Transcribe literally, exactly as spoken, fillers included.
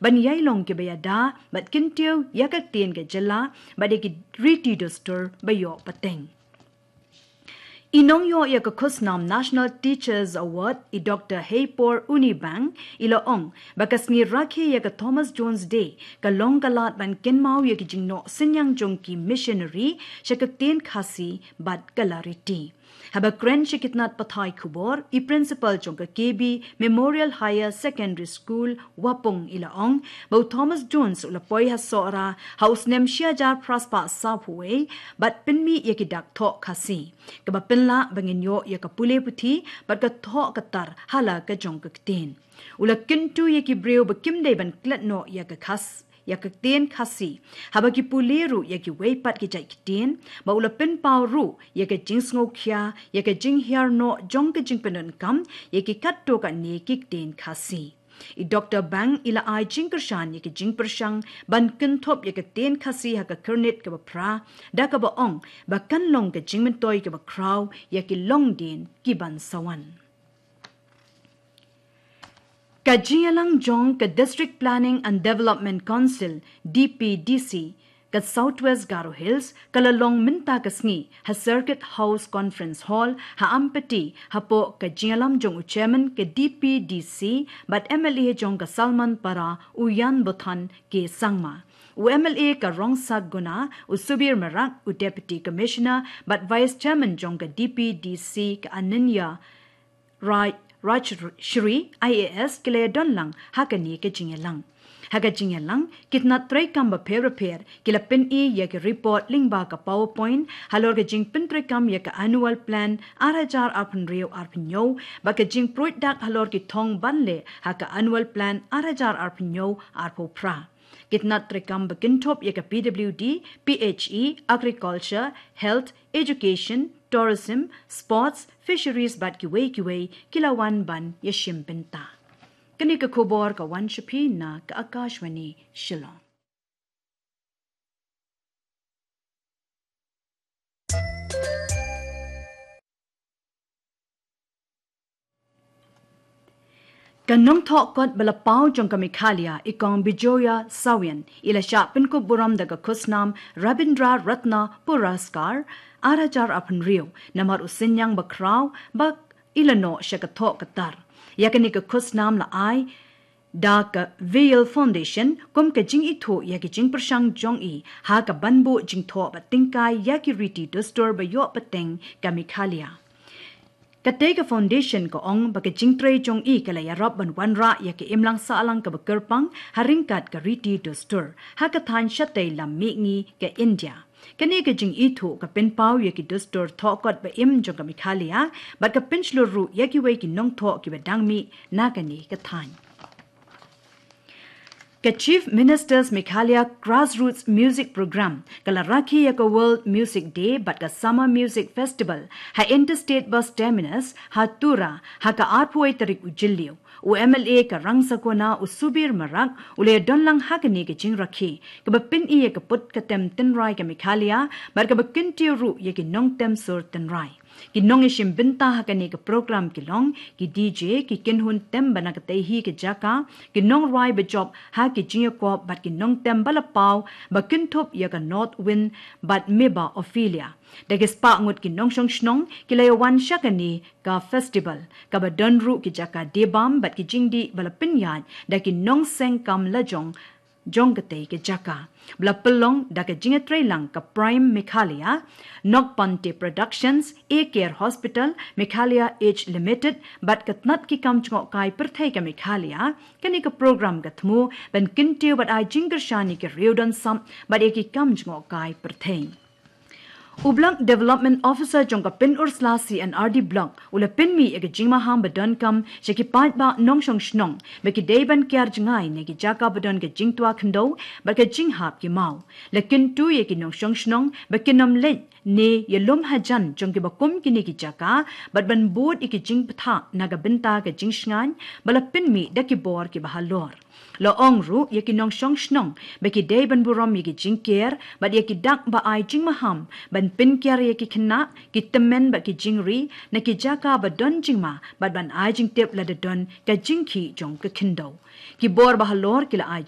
ban ïai long kiba ïada bad kyntiew ïa ka ktien ka jylla bad ïa ki riti dustur ba ïoh pateng. I nongïoh ïa ka khusnam National Teachers Award, i Doctor Heipor Unibang, i la ong ba ka sngi rakhe ïa ka Thomas Jones Day ka long ka lad ban kynmaw ïa ki jingnoh synñiang jong ki missionary sha ka ktien Khasi bad ka la riti. Haba kren sha ki tnat pathai khubor, i principal jong ka K B Memorial Higher Secondary School, Wapung, i la ong ba u Thomas Jones u la poi ha Sohra ha u snem shi hajar phra spah sawphew wei bad pynmih ïa ki dak thoh Khasi, kaba pynlah ba ngin ïoh ïa ka pule puthi bad ka thoh ka tar ha la ka jong ka ktien. U la kyntu ïa ki briew ba kim dei ban klet noh ïa ka Khas ïa ka ktien Khasi haba ki pule ruh ïa kiwei pat ki jait ktien, bad u la pynpaw ruh ïa ka jingsngewkhia ïa ka jinghiar noh jong ka jingpyndonkam ïa ki katto katne ki ktien Khasi. I Doctor Bang i la ai jingkyrshan ïa ka jingpyrshang ban kynthup ïa ka ktien Khasi ha ka Kyrnit kaba phra, da kaba ong ba kan long ka jingmyntoi kaba khraw ïa ki longdien ki ban sa wan. Ka jingïalang jong ka District Planning and Development Council, D P D C, ka South West Garo Hills, ka la long mynta ka sngi ha Circuit House Conference Hall ha Ampati, hapoh ka jingïalam jong u Chairman ka D P D C bad M L A jong ka Salmanpara, u Jan Bothan K Sangma. U M L A ka Rongsakhguna, u Subir Marak, u Deputy Commissioner bad Vice Chairman jong ka D P D C, ka Ananya Raj, Rajshri, I A S, ki la ïadon lang ha kane ka jingïalang. Ha ka jingïalang, ki tnat treikam bapher bapher ki la pyni ïa ki report lyngba ka PowerPoint halor ka jingpyntreikam ïa ka Annual Plan ar hajar arphew hynriew arphew hynñiew bad ka jingpruid dak halor ki thong ban leh ha ka Annual Plan ar hajar arphew hynñiew arphew phra. Ki tnat treikam ba kynthup ïa ka P W D, P H E, Agriculture, Health, Education, Tourism, Sports, Fisheries bad kiwei kiwei ki la wan ban ïashim bynta. Kane ka khubor ka wan sha phi na ka Akashvani Shillong. Ka nongthoh kot ba la paw jong ka Meghalaya, i Kong Bijoya Sawian, i la shah pynkup burom da ka khusnam Rabindra Ratna Puraskar ar hajar arphew hynriew namar u synñiang ba khraw ba i la noh sha ka thoh ka tar. Ïa kane ka khusnam la ai da ka Veil Foundation kum ka jingithuh ïa ka jingpyrshang jong i ha ka ban buh jingthoh bad tyngkai ïa ki riti dustur ba ïoh pateng ka Meghalaya. Katei ka foundation ka ong ba ka jingtrei jong i ka la ïarap ban wanrah ïa ka imlang sahlang kaba kyrpang ha ryngkat ka riti dustur ha ka thaiñ shatei lam mihngi ka India. Kane ka jingithuh ka pynpaw ïa ki dustur thoh kot ba im jong ka Meghalaya bad ka pynshlur ruh ïa kiwei ki nongthoh kiba dang mih na kane ka thaiñ. Ka Chief Minister's Meghalaya Grassroots Music Programme ka la rakhe ïa ka World Music Day bad ka Summer Music Festival ha Interstate Bus Terminus ha Tura ha ka arphew tarik u Jylliew. U M L A ka Rongsakhguna u Subir Marak u la ïadon lang ha kane ka jingrakhe kaba pyni ïa ka put ka tem tynrai ka Meghalaya bad kaba kyntiew ruh ïa ki nongtem sur tynrai. Ki nongïashim bynta ha kane ka program ki long ki D J, ki kynhun tem ba na katei hi ka jaka, ki nongrwai ba jop ha ki jingïakop bad ki nongtem ba la paw ba kynthup ïa ka North Wind bad Meba Ophelia. Da ki spah ngut ki nongshong shnong ki la ïawan sha kane ka festival kaba don ruh ki jaka die bam bad ki jingdih ba la pynïaid da ki nongseng kam lajong jong katei ka jaka, ba la pynlong da ka jingïatreilang ka Prime Meghalaya, Nokpante Productions, A Care Hospital Meghalaya Age Limited bad ka tnat ki kam jngohkai pyrthei ka Meghalaya. Kane ka program ka thmu ban kyntiew bad ai jingkyrshan ïa ki riew don sap bad ïa ki kam jngohkai pyrthei. U Block Development Officer jong ka Pynursla C and R D Block u la pynmih ïa ka jingmaham ba donkam sha ki paidbah nongshong shnong ba ki dei ban kiar jngai na ki jaka ba don ka jingtwa khyndew bad ka jinghap ki maw. La kyntu ïa ki nongshong shnong ba kin ym leit ne ïalum hajan jong kiba kum kine ki jaka bad ban bud ïa ki jingbthah na ka bynta ka jingshngaiñ ba la pynmih da ki bor kiba halor. La ong ruh ïa ki nongshong shnong ba ki dei ban burom ïa ki jingker bad ïa ki dak ba ai jingmaham ban pynkiar ïa ki khynnah, ki tymmen bad ki jingri na ki jaka ba don jingma bad ban ai jingtip lada don ka jingkhih jong ka khyndew. Ki bor ba halor ki la ai